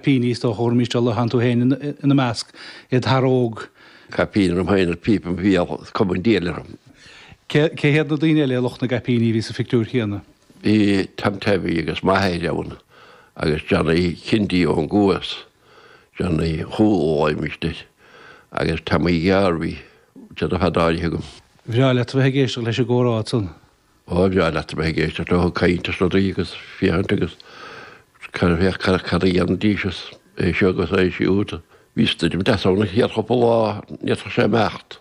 Caipíní, is dócha, thabharfaimís dul, thánn tú féin ina measc, id fhear óg. Caipín orm féin agus píopa im bhéal, is cuma an diabhal orm. Cé hiad na daoine eile, lucht na gcaipíní, a bhí sa phictiúr chéanna? Bhí Tom Tevi agus m'athair ann agus Johnny Kindy ón gCuas, Johnny Chúl a ghlaoimist air, agus Tommy Ghearbhuigh, déanamh fada áirithe agam. Bhreá leat a bheith ag éisteacht leis an gcomhrá ansan. Ó, bhreá leat a bheith ag éisteacht leo ag caint is rudaí agus féachaint agus féach cad a dhéanfaidís is é seo agus é siúd. Bhí stoirm deas ann an chéad chúpla lá, ní fhéadfadh sé imeacht.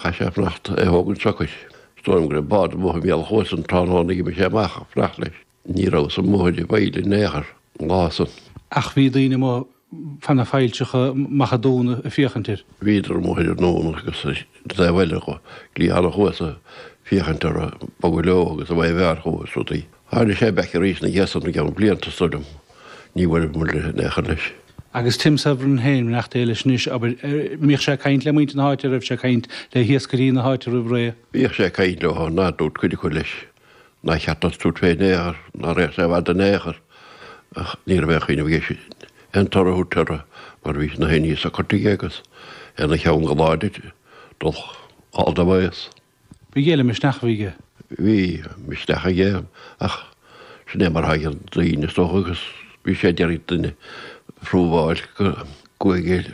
Chaith sé fanacht é thógaint socair. Is dóigh liom go raibh bád amuigh i mbéal an chuasa an tráthnóna a d'imigh sé amach ag fanacht leis. Ní rabhas amuigh ar an bhfaill in aon chor an lá san. Ach bhí daoine amuigh fá na failltreacha amach an dún ag féachaint air. Bhíodar amuigh ar an ndún agus an taobh eile de chliathán an chuasa féachaint orthu ag bogadh leo agus an mhaidhc mheáir chucu is rudaí. Tháinig sé back arís ina dhiaidh san i gceann blianta is dóigh liom. Ní bhfuair muid in aon chor leis. Agus Tim Severin féin, beannacht Dé leis anois, abair, mbíodh sé ag caint le muintir na háite, an raibh sé ag caint le hiascairí na háite roimh ré? Bhíodh sé ag caint leo, ná dúirt cuid acu leis Nár cheart duit tabhairt fé in aon chor, ná raghadh sé i bhfad in aon chor, ach ní raibh aon chuimhneamh aige aon toradh a thabhairt orthu mar bhí na haon ní socair aige agus é ina cheann go láidir dul all the ways. Ba ghéire misneach a bhí aige. Bhí misneach aige ach sin é mar atá ag daoine is dócha agus bhí sé ag iarraidh duine a phrúbháil go gcuaigh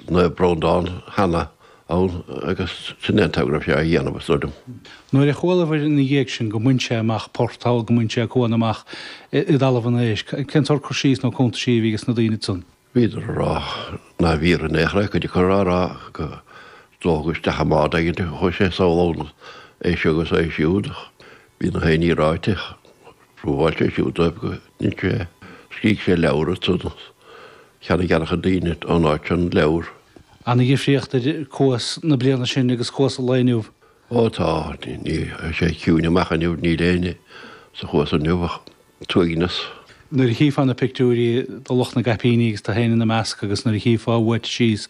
Naomh Breandán cheana ann agus sin é an t-am go raibh sé á dhéanamh, is dóigh liom. Nuair a chualabhair ina dhiaidh sin go mbain sé amach port thall, go mbain sé cuan amach i dTalamh an Éisc, cén sórt cur síos nó cuntaisí a bhí ages na daoine ansan? Bhíodar ag rá ná bhfíor in aon chor é, cuid acu á rá go dócha isteach i mbád éigin a chuaigh sé sall ann, é seo agus é siúd, ach bhí na haon ní ráite, phrúbháil sé siúd dóibh go ndein sé, scrígh sé leabhar ansan, cheannaigh an-chuid daoine ón áit sin an leabhar. Ana-dhifríocht idir cuas na bliana sin agus cuas an lae inniu. Ó tá, ní, tá sé ciúin amach inniu, níl éinne sa chuas inniu ach an t-uaigneas. Nuair a chífeá na pictiúirí de lucht na gcaipíní agus tú féin ina measc agus nuair a chífeá uait síos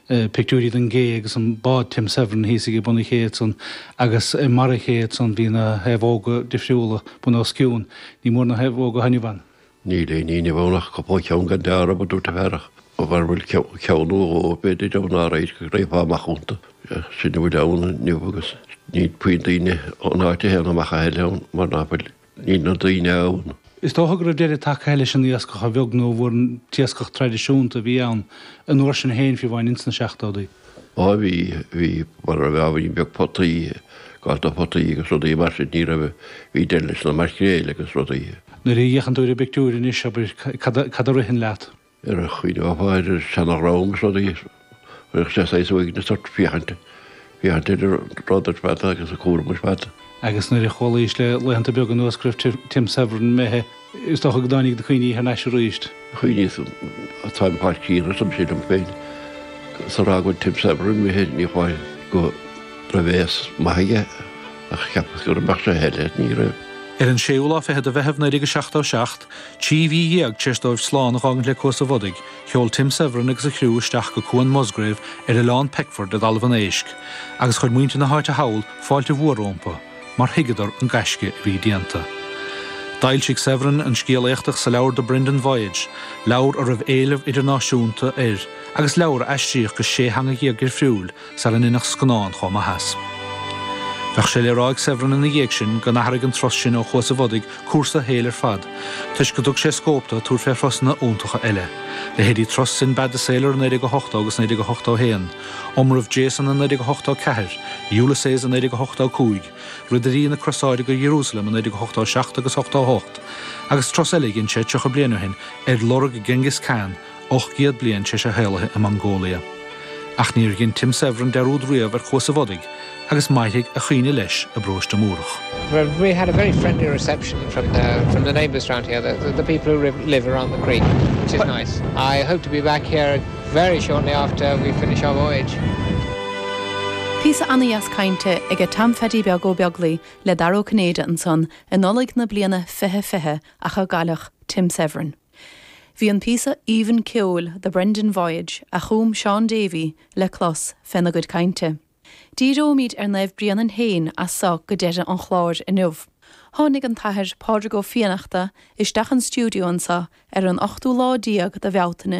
pictiúirí den gcé agus an bád Tim Severin thíos ag bun an ché ansan agus i mbarra an ché ansan bhí na naomhóga difriúla bun os cionn. Ní mór na naomhóga inniu ann. Níl aon ní inniu ann ach cúpla ceann gan dealramh, a dúirt an fear, ach mura bhfuil ceann nó dhó, b'fhéidir, ann ná raibh go raghfá amach iontu. Sin a bhfuil ann inniu agus níl puinn daoine ón áit a théann amach a thuilleadh ann mar ná fuil, níl na daoine ann. Is dócha go raibh deireadh tagtha leis an iascach, a bheag nó a mhór an t-iascach traidisiúnta a bhí ann an uair sin féin, fiú amháin ins na seachtóidí. Á bhí, bhí, mura raibh ábhairín beag potaí, gá do photaí agus rudaí mar sin, ní raibh, bhí deireadh leis na maicréil agus rudaí. Nuair a fhéachann tú ar an bpictiúr anois, abair, cad a, cad a ritheann leat? Ar a chuimhneofá ar an seana-dhream is rudaí, chuirfeadh sé saghas uaigneas ort féachaint, féachaint ar an rud ar fad agus an cúram ar fad. Agus nuair a chualaís le laethanta beaga anuas go raibh Tim Severin imithe, is dócha go dtáinig na cuimhní thar n-ais arís. Chuimhníos, táim fáil críonna arsa mise liom féin, is a rá go bhfuil Tim Severin imithe, ní amháin go raibh aos maith aige ach cheapas go mbeadh sé eile, ní raibh. Ar an séú lá fichead de Mheitheamh 1977, 13 mhí tar éis dóibh slán a dh'fhágaint le Cuas an Bhodaigh, Sheol Tim Severin agus a chriú isteach go Cuan Musgrave ar Oileán Peckford i dTalamh an Éisc, agus chuir muintir na háite thall fáilte mhór rompu, mar thuigeadar an gaisce a bhí déanta. D'fhoilsigh Severin an scéal éachtach sa leabhar The Brendan Voyage, leabhar a raibh éileamh idirnáisiúnta air agus leabhar a aistríodh go sé theanga dhéag dhifriúil sara ndeineadh scannán chomh maith as. Bheadh sé le rá ag Severin ina dhiaidh sin go n-athraigh an turas sin ó Chuas an Bhodaigh cúrsa a shaoil ar fad, toisc go dtug sé scóip dó tabhairt fé thurasanna iontacha eile, leithéidí turas Sinbad the Sailor i 1980 agus 1981, Iomramh Jason i 1984, Ulysses i 1985, Ridirí na Crosáide go Ierúsalem i 1987 agus 88, agus turas eile a dhein sé 30 bliain ó shin ar lorg Genghis Khan, 800 bliain tar éis a shaolaithe i Mongolia. Ach níor dhein Tim Severin dearúd riamh ar Chuas an Bhodaigh agus mairfidh a chuimhne leis i bparóiste Múrach. Well, we had a very friendly reception from the from the neighbours round here, the, the, the people who live around the creek, which is nice. I hope to be back here very shortly after we finish our voyage. Píosa ana-dheas cainte aige Tom Pheaidí Beag Ó Beaglaoi le Dara Ó Cinnéide ansan i Nollaig na bliana 2020 ach a cailleadh Tim Severin. Bhí an píosa aoibhinn ceoil The Brendan Voyage a chum Seán Davey le clos féna gcuid cainte. Díreoimid ar Naomh Bréanainn féin as so go deireadh an chláir inniu. Tháinig an tAthair Pádraig Ó Fiannachta isteach an stiúideo anseo ar an ochtú lá déag de Bhealtaine.